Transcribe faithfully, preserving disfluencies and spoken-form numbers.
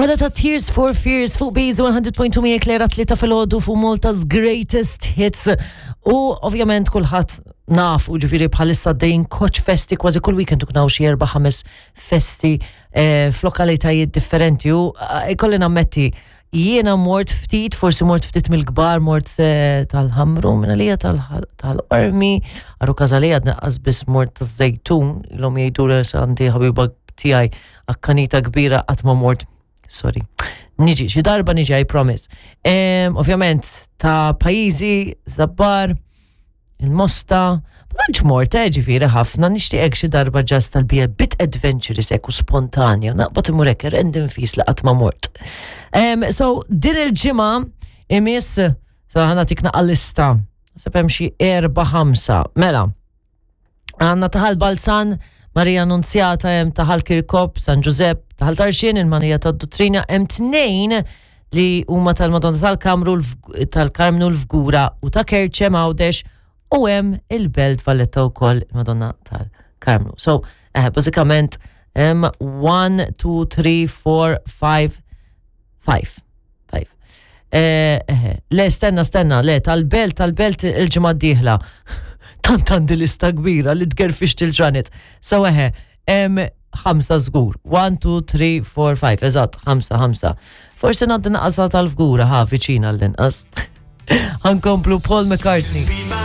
Wada ta' Tears for Fears fuq Bees one hundred point two miegħek Lera Tlieta filgħodu fuq Malta's Greatest Hits. U ovvjament kulħadd naf u ġifieri bħalissa dejn koċ festi, kważi kull weekend uknaw xi erba' ħames festi eh, f'lokalitajiet differenti u eh, ikolli nammetti jiena mort ftit, forsi mort ftit mill-kbar, mort eh, tal-Ħamru, minna lija tal-Qormi, għarru kazalija għadna biss mort taż-Żejtun, l-om jgħidu li għandi ħabiba tiegħi akkanita kbira, qatt ma mort, sorry. Niġi, xi darba niġi, I promise. Em, Ovvjament, ta' pajjiżi, Żabbar, il-Mosta, ma tantx mort, eh, ġifieri ħafna, nixtieqek xi darba just tal-be a bit adventurous hekk u spontanja, naqbad imur hekk random fis li qatt ma mort. Em, so, din il-ġimgħa imiss, so ħa nagħtik naqra lista, naħseb hemm xi erba' ħamsa. Mela, għandna ta' Ħal Balzan, Maria Annunzjata, hemm ta' Ħal Kirkop, San Giuseppe, ta' Ħal Tarxien, il-Manija tad-Duttrina, hemm tnejn li huma tal-Madonna tal-Kamru tal-Karmnu l-Fgura u ta' Kerċem Għawdex u hemm il-Belt Valletta wkoll il-Madonna tal-Karmnu. So, eh, bażikament hemm one, two, three, four, five, five. five. Eh, eh, le, stenna, stenna, le, tal-Belt, tal-Belt il-ġimgħa d-dieħla. Tant għandi lista kbira li tgerfix til-ġranet. So eħe, hemm ħamsa żgur. one, two, three, four, five, eżatt, ħamsa, ħamsa. Forsi ngħaddi naqasa tal-Fgura, ha, viċina l-inqas. Ħa nkomplu Paul McCartney.